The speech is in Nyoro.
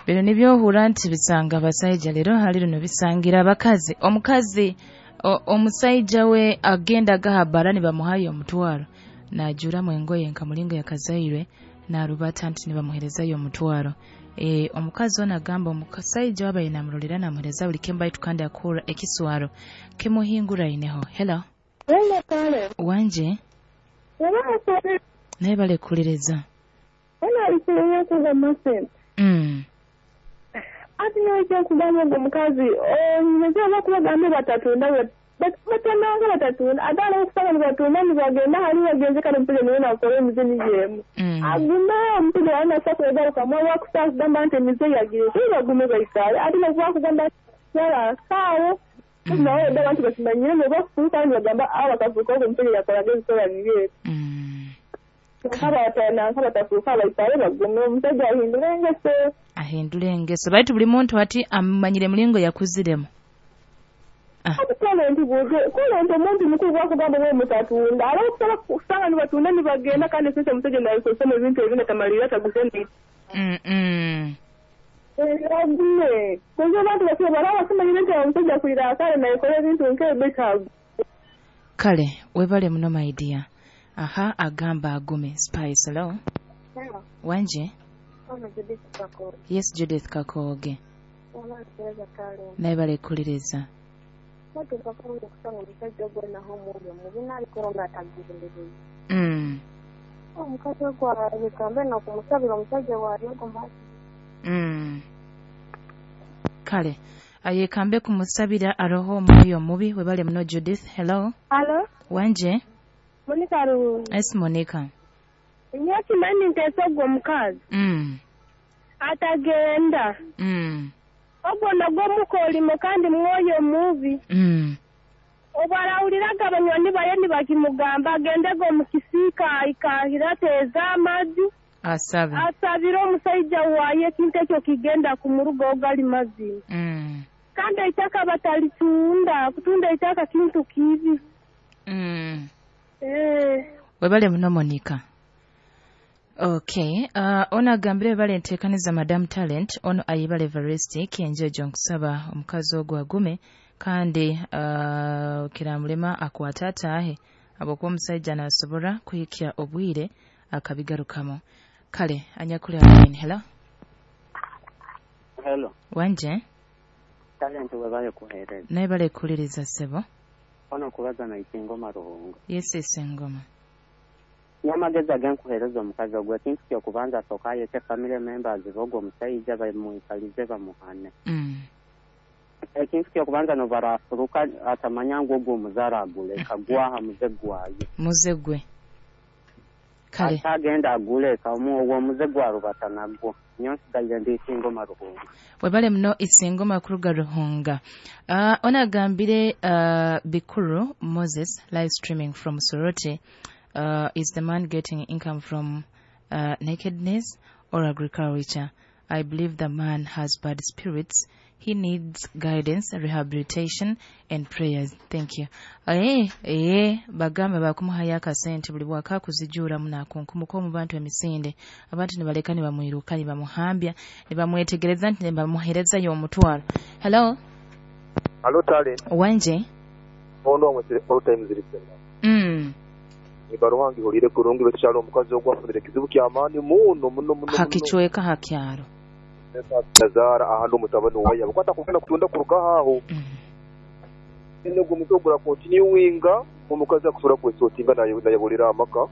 Bino nibyohura nti bisanga abasaija, leero hali bino bisangira abakazi. Omukazi omusaija we agenda agaha bara nibamuhayo omutwaro, naajuramu engoye nka mulingo yakazairwe, narubata nti nibamuherezayo omutwaro. Omukazi ono agamba omusaija wabaire namurolera namuhereza buli kimu, baitu kandi akura ekiswaro kimuhinguraineho. Hello. Hello, Kale. Wanje. Naye balekuliriza. Ati nojja kugamba ogwo omukazi onyinza kubagamba batatunda batananga batatunda ate aliwo okusanga nibatunda nibagenda hali bagenze kale omusajja naye nakora emize niyo emu agume omusajja wali nasa kwegarukamu oba kugamba nti emize yagireke bagume baikale ate nokuba kugamba yala saawo nawe edda abantu bakimanyire noba kufuuka nibagamba abo bakafuuka ogwo omusajja yakoraga ebikolwa bibi ebyo. Nk'abatafuuka baikale bagume omusajja ahindule engeso. Ahindule engeso baitu buli muntu ati amanyire mulingo yakuziremu. Kale nti omuntu mukulu bwakugamba bwe mutatunda aba okusaba kusanga nibatunda nibagenda kandi sente omusajja nabikozesa mu bintu ebindi atamalirira taguze ni agume kuza abantu basibe baraba simanyire nti omusajja akwira akale nayekora ebintu nk'ebyo. Kale webale muno my dear. Aha agamba agume. Spice, hello. Hello. Wanje. Judith Kakoge. Yes, Judith Kakoge. Naye balekuliriza. Kale ayekambe kumusabira aroho omwoyo omubi. Webale muno Judith. Hello. Hello. Wanje. Monica Ruhunga. Yes, Monica. Nyakimanyi nteesa ogwo omukazi. Atagenda. Ogwo nagwo mukolimo kandi mwoyo mubi. Obwarawuliraga abanywani baye nibakimugamba agendege omu kisiika aikahira ateeze amazzi. Asabe. Asabire omusaija waye ekintu ekyo kigenda kumurugaho gali mazima. Kandi eitaka batalitunda, kutunda eitaka kintu kibi. Webale muno Monica. Okay, ono agambire bale nteekaniza Madam Talent, ono ayibale Everest enjojo nkusaba omukazi ogwo agume kandi kiramulema akwata ataahe abokuba omusajja nasobora kuhikya obwire akabigarukamu. Kale anyakuli line. Hello. Hello. Wanje. Talent webale kuhereza. Naye bale kuliriza sebo. Ono kubaza na Isingoma Ruhunga. Yes, Isingoma. Nyamagezi agenkuhereza omukazi ogwo ekintu kyokubanza asooka ayete family members b'ogwo omusajja bamuikalize bamuhane. Ekintu kyokubanza nobarafuruka atamanya ngu ogwo omuzaara aguleka gwaha muze gwaye. Muze gwe. Kale. Atagenda aguleka ogwo omuze gwarubata nagwo. Nyo nsigaire ndi Isingoma Ruhunga. Webale muno Isingoma kuruga Ruhunga. Ono agambire Bikuru Moses live streaming from Soroti. Is the man getting income from nakedness or agriculture? I believe the man has bad spirits. He needs guidance, rehabilitation and prayers. Thank you. Bagamba bakumuhayo akasente buli bwaka kuzijuuramu nakunkumuka omu bantu emisinde. Abantu nibaleka nibamwiruka nibamuhambya nibamwetegereza nti nibamuherezayo omutwaro. Hello. Hello Talent. Wanje. Ono omwe all times listener. Ibaruwangi hulire kurungi bekyalo omukazi ogwafunire kizibu kyamaani muno muno muno hakichweka hakyaro nazaara ahantu omutabani waye abakwata kugenda kutunda kuruga aho ene gwo muto gura continuinga omukazi akusobola kwesotinga nayabulira amaka.